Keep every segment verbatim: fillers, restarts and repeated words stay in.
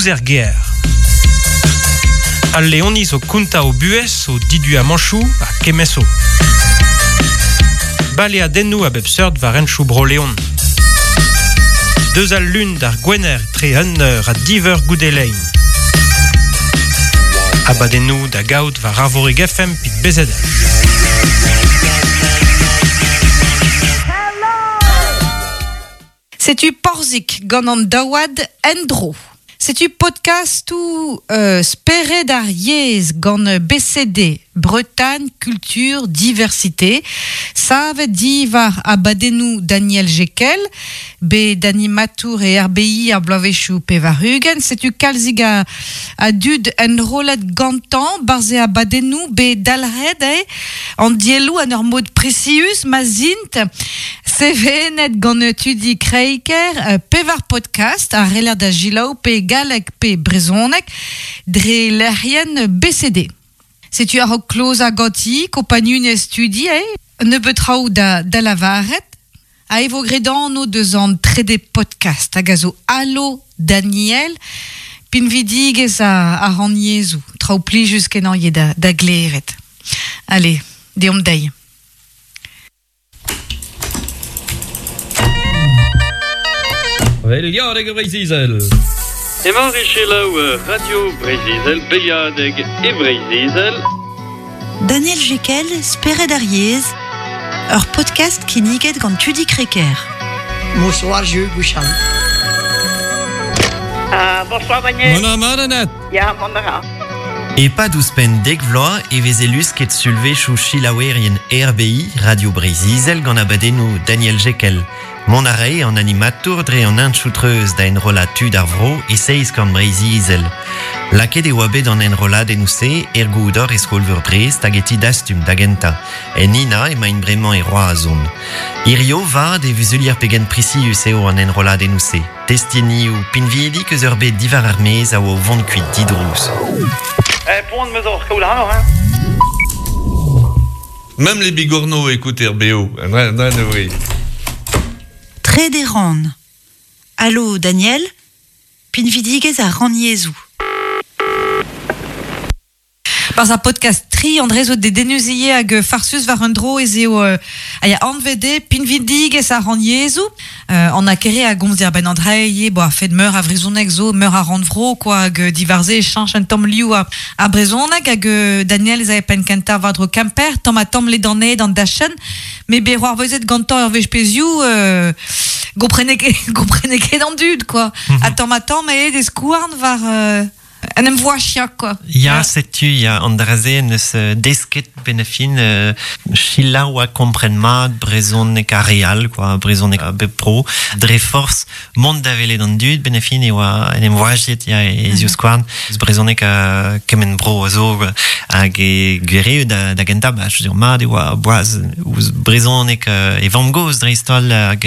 Ouzh er ger. Al Leoniz o konta o buhez, o didu a manchou a kemeso. Baleadennoù a bep seurt war enchou bro Leon. Deus al lun d'ar gwener tre un eur a diveur goudelein. Abadennoù da gaout war Arvorig F M pit B Z H. Setu Porzik gant an daouad endro. Setu podcast ou euh, spered ar yezh gant B C D, Bretagne, Culture, Diversité. Savet divar abadennoù Daniel Jekel, bet animatour e R B I ar bloavezhioù pevar-ugent. Setu kalzig a, a dud enrollet gantañ barze abadennoù bet dalc'het, eh, an dielloù an ur mod presius ma zint sevenet gant tudi Kreiker, euh, pevar podcast a reler da gilaou pe galleg pe brezhoneg dre lec'hienn B C D. Setu ar kloz a goti, kompagnunez studi, eh, nebeut traoù da, da lavaret, a evo gredan deus an trede podcast hag a zo Allo Daniel, pinvidigez a, a rannyezhoù, traoù plijus kenañ eo da, da gleret. Allez, deomp dezhi. Beliadeg e Breizh-Izel. Emañ Richelaou Radio Breizh-Izel, Beliadeg e Breizh-Izel. Daniel Jekel, Spered ar yezh, ur podcast kinniget gant Tudi Kreker. Bonsoir, Jules Bouchard. Ah, bonsoir, Daniel. Mon amadenet. Ya, mon ara. E pa ouzhpenn dek vloaz e veze lusket sulvezhioù chilaouerien R B I, Radio Breizh-Izel gant abadennoù Daniel Jekel. Mont a rae an animatour dre an hentchoù-treuz da enrollañ tud ar vro e seizh kant Breizh-Izel. Lakaet e oa bet an enrolladennoù-se er goudor e skol-veur Brest hag e ti dastum da gentañ. En ina emaint bremañ e Roazhon. Hirio vat e vuzulier pegen prisius eo an enrolladennoù-se. Testinioù pinvidik eus ur bet diwar ar maez a oa o vont kuit didrouz. Eh, poan meus oc'h kaout ac'hanoc'h, hein? Même les bigorneaux écoutent R B O. Non, non, non, oui. Trede ran. Allo, Daniel? Pinvidigez a rannyezhoù. Par ar podcast tri, André zo de denuzie hag farsus war un dro ez eo euh, a ya anvede pinvidigez a rannyezhoù. Euh, an akere a gomz dir ben André ye bo a fet meur a vrezhoneg zo meur a rannvro quoi hag divarze e chanch un tamm liou a, a brezhoneg hag Daniel ez a pen kentañ war dro Kemper tamm a tamm le daned an dachen me be roar vezet gantañ ur wech pezioù euh, gomprenek gomprenek ket an dud quoi. Mm-hmm. A tamm a tamm e des skouarn war euh, an em voa chiak, quoi. Ya, setu, ya, an draze neus desket benefin euh, chilaou a kompren mat brezhoneg a real, quoi, brezhoneg a bep pro, dre force mont da welet an dud benefin e oa en em voajiet, ya, e mm. skouarn, brezhoneg a kement bro a zo, hag e gwere da, da gentañ, ba, je veux dire, mat e oa boaz ouzh brezhoneg e vamm-gozh dreist-holl hag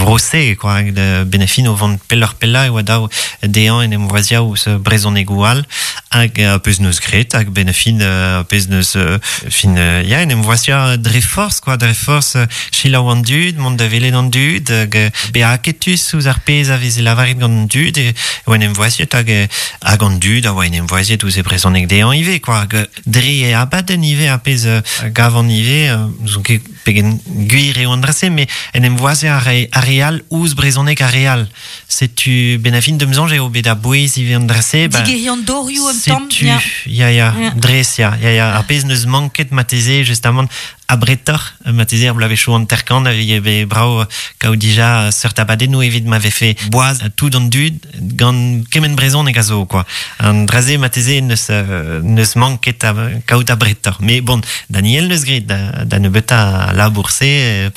vro-se, quoi, hag benefin o vont pelloc'h pellañ e oa daou dezhañ en em voazia ouzh brezhonegoù all, hag uh, peus neus gret, hag benefin uh, peus neus uh, fin uh, ya en em voazia dre force, quoi, dre force uh, chilaou an dud, mont da welet an dud, hag uh, bezañ aketus ouzh ar pezh a veze lavaret gant an dud, e oa en em voaziet hag, hag an dud a oa en em voaziet ouzh e brezhoneg dezhañ ivez, quoi, hag dre e abadenn ivez ar pezh uh, gavan ivez, uh, n'ouzon ket pegen gwir eo an dra-se, mais en em voazia ar re, ar re all ouzh brezhoneg ar re all. Setu benafin deus soñj eo bet a-bouez ivez an dra-se, ba, Digeriñ an dorioù un tamm, setu, ya. ya, ya, Ya. dres, ya, ya, ya. Ar pezh neus manket mateze, justamant, abretoc'h, mateze ar bloavezhioù hanter-kant, a vije bet brav kaout dija seurt abadennoù evit ma vefe boaz tout an dud gant kement brezhoneg a zo, quoi. An dra-se mateze neus, euh, neus manket a, kaout abretoc'h. Mais bon, Daniel neus gret da, da nebeutañ labour-se,